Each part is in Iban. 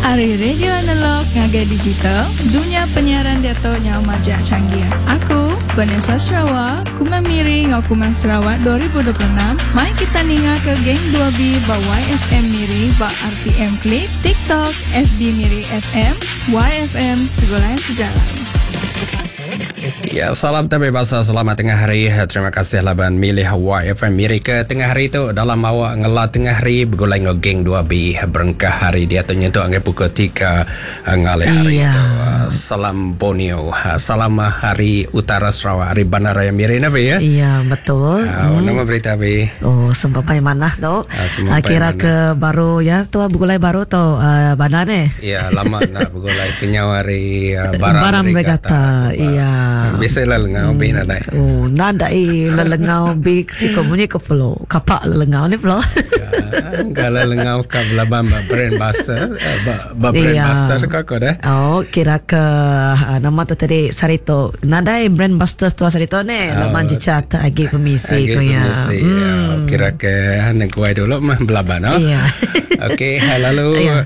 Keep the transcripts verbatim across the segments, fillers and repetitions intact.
Ari radio analog ngagai digital, dunya penyiaran diatu nyau majak canggih. Aku, Vanessa Sarawak, Kumang Miri ngau Kumang Sarawak dua ribu dua puluh enam, mai kita ninga ke Geng dua B ba Y F M Miri ba R T M Click, TikTok, F B Miri F M, Y F M Segulai Sejalai. Ya, salam tabi basa, selamat tengah hari. Terima kasih laban milih Y F M Miri ke tengah hari tu dalam awak ngela tengah hari begulai ngau Geng dua B berengkah hari dia tu nyentuk anggai pukul tiga ngalih hari Ya. tu. Salam Borneo. Salam hari Utara Sarawak, hari Bandaraya Miri nabi ya. Ya, betul. Uh, nama berita bi? Oh, sempat mana tu? Ah, semampai Uh, kira mana. ke baru ya, tu begulai baru tu uh, bandar ni. Ya, lama nak begulai kenyau hari uh, Baram, Baram Regatta, iya. Biasa lah lengau bi nak naik. Oh, nadai lelengau bi si ko bunyi ko perlu. Kapak lelengau ni perlu. Kalau lengau ka belaban ba brand buster, eh, ba, ba brand Iya. buster kau kau dah. Oh, kira ke uh, nama tu tadi Sarito. Nadai brand busters tu Sarito ni. Oh. Laman jecat agi permisi Agi ko ya. permisi, ya. Kira ke negoi dulu mah belaban oh. Iya. Okey, lalu Iya.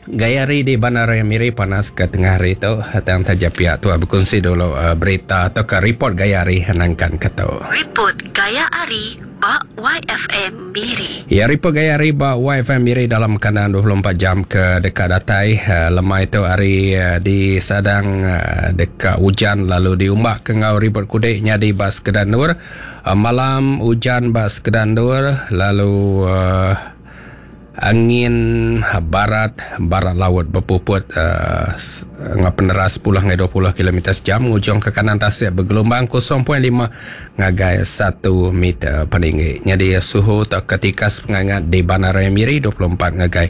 gaya hari di Bandaraya Miri panas ke tengah hari tu. Tang taja pihak tu berkongsi dulu uh, berita atau ke report gaya hari nangkan ke tu. Report Gaya Ari ba Y F M Miri. Ya, report gaya hari ba Y F M Miri dalam keadaan dua puluh empat jam ke dekat datai. Uh, lemai tu hari uh, di Sadang uh, dekat hujan lalu diumbak ke ngau ribut kudek nyadi bas Kedanur. Uh, malam hujan bas Kedanur lalu uh, angin barat barat laut berpuput uh, ngah peneras sepuluh hingga dua puluh kilometer sejam ngujung ke kanan tasik bergelombang kosong perpuluhan lima ngagai satu meter peninggi. Jadi suhu atau ketika pengangat di Bandaraya Miri dua puluh empat ngagai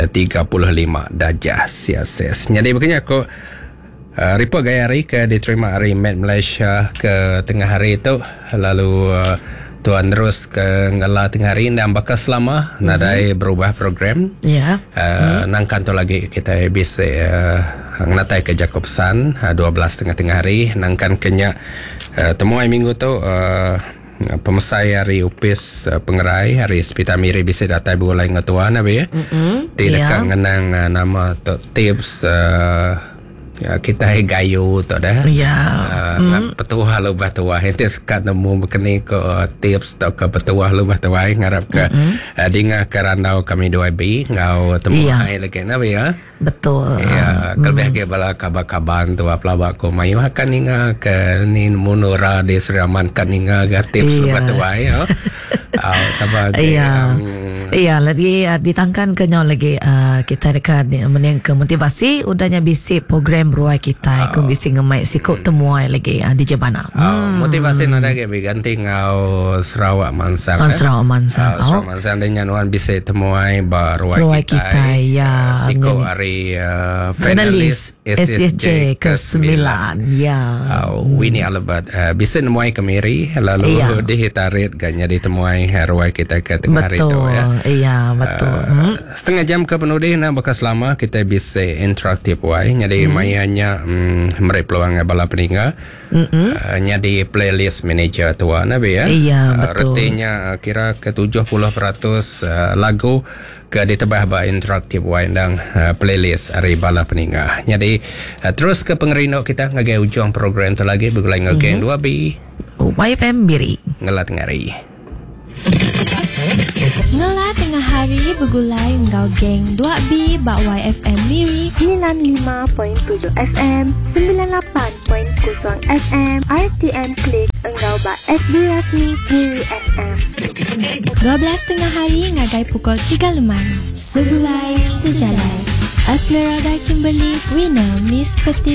eh, tiga puluh lima darjah Celsius. Jadi begini aku Uh, report gaya hari ke diterima hari Met Malaysia ke tengah hari itu lalu uh, tuan terus ke ngela tengah hari dan bakal selama mm-hmm. nadai berubah program. Ya. Uh, hmm. Nangkan tu lagi kita bisa uh, ngatai ke Jacobson uh, dua belas tengah-tengah hari nangkan kenya uh, temuai minggu tu uh, pemesai hari upis uh, pengerai hari Sepitar Miri bisa datai begulai dengan tuan abi ya. Mm-mm. Ti Ya. dekat ngenang uh, nama tu tips uh, ya, kita hai gayu tu dah. Ya. Uh, mm. Petuah lubah tuah itu sekat nemu bekeni ke uh, tips atau ke petuah lubah tuah ngarap ke mm-hmm. uh, dengar ke randau kami dua B ngau temu Ya. hai lagi na ya. Betul. Ya, kelebih ke bala kabar-kabar tu apa ko mayu akan ninga ke ni munura di Sri Aman kan ninga ga tips Iya. lubah tuah ya. Ah, sama Iya. um, Iya, lagi uh, ditangkan ke nyau lagi uh, kita dekat ni mening ke motivasi udahnya bisi program ruai kita oh. bisi ngemai sikuk temuai lagi uh, di Jebana. Oh, motivasi nada ke ganti ngau Sarawak Mansang. Oh, eh? Sarawak Mansang. Uh, Sarawak Mansang dan nuan bisa temuai ba ruai Ruai kita. kita, ya. Siko Ngeni. hari uh, Finalis finalis S S J ke sembilan. Ya. Uh, Winnie Albert uh, bisa nemuai ke Miri lalu Ya. dihitarit ganya ditemuai ruai kita ke tengah hari Betul. tu ya. Iya, betul. Uh, Hmm. Setengah jam ke penudih nak bekas lama kita bisa interaktif wai. Jadi hmm. mayanya mm, meri peluang bala peninga. Mm-mm. Uh, jadi playlist manager tua nabi ya. Iya, Uh, betul. Retinya uh, kira ke tujuh puluh peratus uh, lagu ke ditebah ba interaktif wai dan uh, playlist hari bala peninga. Jadi uh, terus ke pengerindu kita ngagai ujung program tu lagi begulai ngau geng dua B Y F M Miri. Ngelat ngari. Ngela tengah hari begulai engkau geng dua B bak Y F M Miri sembilan puluh lima perpuluhan tujuh F M, sembilan puluh lapan perpuluhan kosong F M, R T M Click engkau bak F B rasmi Miri F M. dua belas tengah hari ngagai pukul tiga lemai. Segulai Sejalai. Esmeralda Kimberly, winner Miss Petite.